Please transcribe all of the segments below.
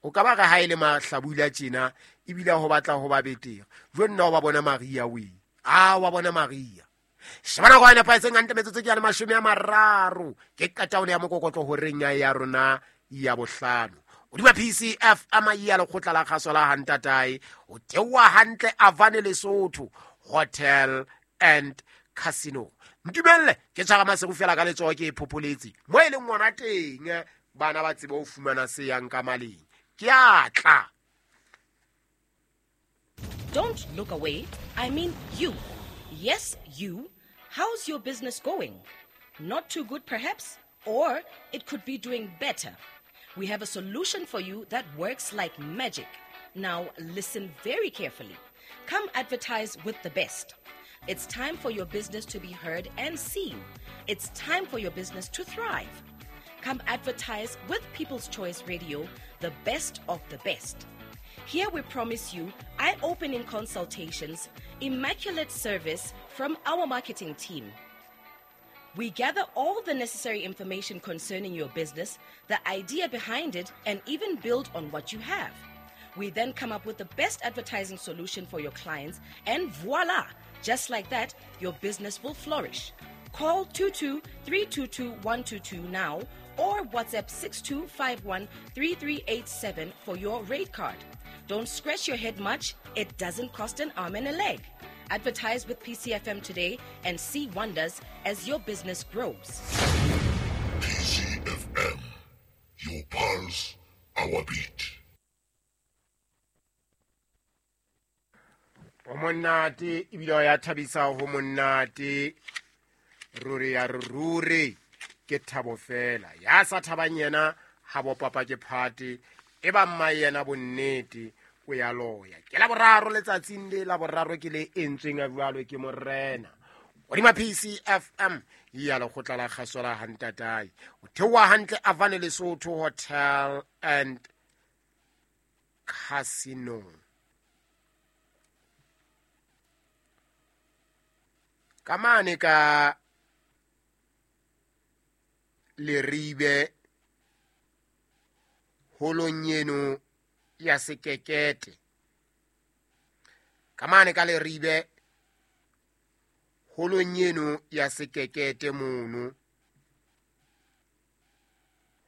O ka ba re ha e le mahlabula tjena ebile ho batla ho ba betere. Jo nna o ba bona Maria we. A wa bona Maria. Sheba nako e nepahetseng hantle metsotso ke ya le 30. Ke qetaolo ya mokokotlo horeng ya rona ya bohlano. Hodima PCFM ya lekgotla la kgaso la Hantatae, o theoha hantle Avane Lesotho Hotel and Casino. Ntumelle ke tshwara maseru fela ka letsoho ke e phopholetse mo e leng ngwana teng, bana ba tsebe ho fumana se yang ka maleng. Ke a tla. Don't look away. I mean you. Yes, you. How's your business going? Not too good, perhaps? Or it could be doing better. We have a solution for you that works like magic. Now, listen very carefully. Come advertise with the best. It's time for your business to be heard and seen. It's time for your business to thrive. Come advertise with People's Choice Radio, the best of the best. Here we promise you eye-opening consultations, immaculate service from our marketing team. We gather all the necessary information concerning your business, the idea behind it, and even build on what you have. We then come up with the best advertising solution for your clients, and voila! Just like that, your business will flourish. Call 22-322-122 now or WhatsApp 6251-3387 for your rate card. Don't scratch your head much. It doesn't cost an arm and a leg. Advertise with PCFM today and see wonders as your business grows. PCFM, your pulse, our beat. O monate ebile ya thabisa ho monate. Ruri ya ruri ke thabo fela. Ya sa thabang yena ha bo papa ke phate, e ba mma yena bonnete o ya loya. Ke la boraro letsatsing le la boraro ke le entsweng a jwalo ke morena. Hodima PCFM ya lekgotla la kgaso la Hantatae. O theoha hantle Avane Lesotho Hotel and Casino. Ka mane ka Leribe holong eno ya Sekekete. Ka mane ka Leribe holong eno ya Sekekete mono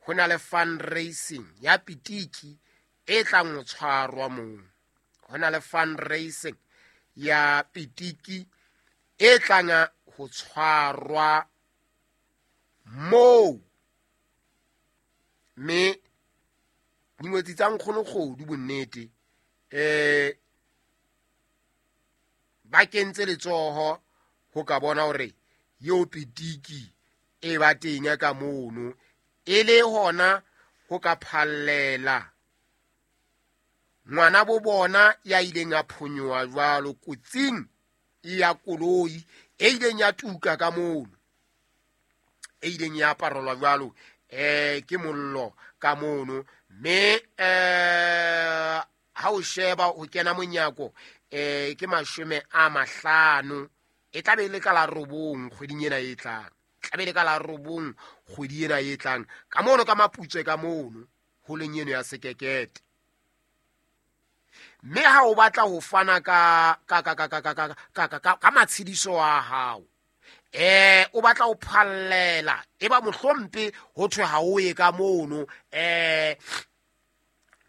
ho na le fundraising ya pitiki e tlang ho tshwarwa moo. Ho na le fundraising ya pitiki e tlang ho tshwarwa moo. Mme dingwetsi tsa nkgono kgodu bonnete ba kentse letsoho ho ka bona hore eo pitiki e ba teng ka mono, e le hona ho ka phallela ngwana bo bona ya ileng a phonyoha jwalo kotsing ya koloi e ileng ya tuka ka mono, e ileng ya aparelwa jwalo ke mollo ka mono. Mme ha o sheba ho kena monyako ke 50, e tla be le ka la 9 kgweding ena e tlang. Tla be le ka la 9 kgwedi ena e tlang ka mono ka Maputswe ka mono holeng eno ya Sekekete. Mme ha o batla ho fana ka matshediso a hao, o batla ho phallela, e ba mohlompe ho thwe ha o ye ka mono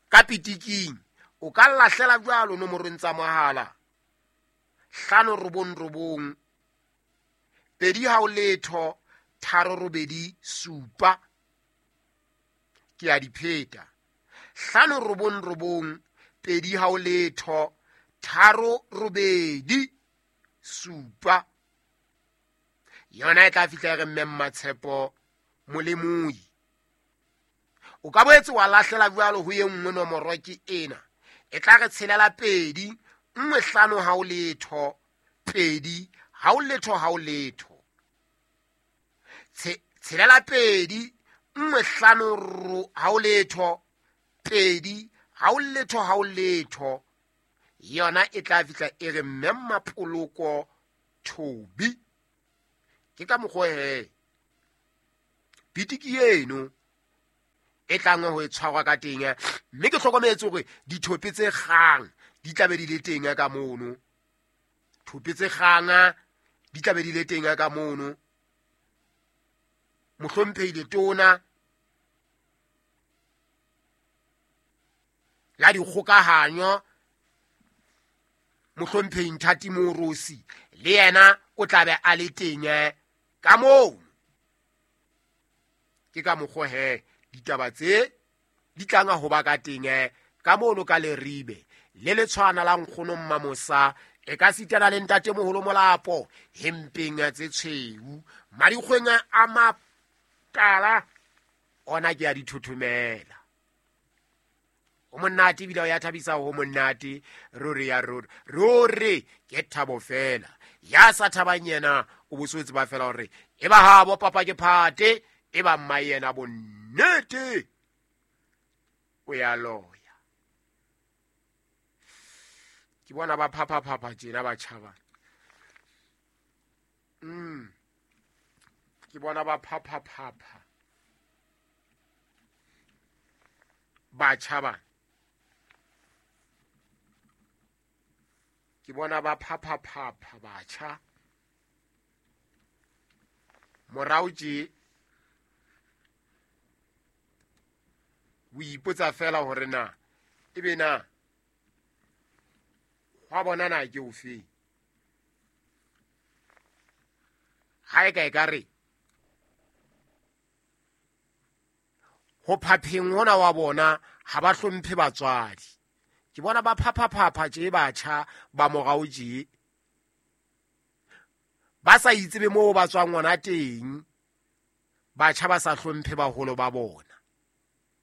ka pitiking, o ka lahlela jwalo nomorong tsa mohala 599 2 0 3 8 7. Ke a di pheta. 599 2 0 3 8 7. Yona e tla fihla re mme Mmatshepo Molemoi. O ka boetse wa lahlela jwalo ho e nngwe nomoro ke ena. E tla re tshelela 2 1 5 0 2 0 0 0. Tshelela 2 1 5 0 2 0 0 0. Yona e tla fihla e re mme Mapoloko Thobi. Ke ka mokgwa he pitiki eno e tlang ho e tshwarwa ka teng. Mme ke hlokometse hore dithope tse kgang di tlabe di le teng ka mono, thope tse kgang di tlabe di le teng ka mono. Mohlomphehi letona la dikgokahanyo mohlomphehi Nthati Morosi le yena o tlabe a le teng ka moo. Ke ka mokgwa he ditaba tse di tlang ho ba ka teng ka mono ka Leribe le letshwana la nkgono Mmamosa e ka sitana le ntate moholo Molapo hempeng tse tshweu madikgweng a matala ona ke a dithothomela. O monate ebile o ya thabisa ho monate ruri ya ruri ruri ke thabo fela. Ya sa thabang yena o bo se tseba fela hore e ba habo papa ke phate e ba mma yena bonnete o ya loya. Ke bona ba phapha-phapha tjena ba tjhaba. Ke bona ba phapha-phapha ba tjhaba. Ke bona ba phapha-phapha batjha. Morao tje o ipotsa fela hore na ebe na hwa bona na ke ofe. Ha e ka e ka re ho phapheng hona wa bona ha ba hlomphe batswadi. Ke bona ba phapha-phapha tje batjha ba morao tje ba sa itsebe moo ba tswang hona teng. Batjha ba sa hlomphe baholo ba bona.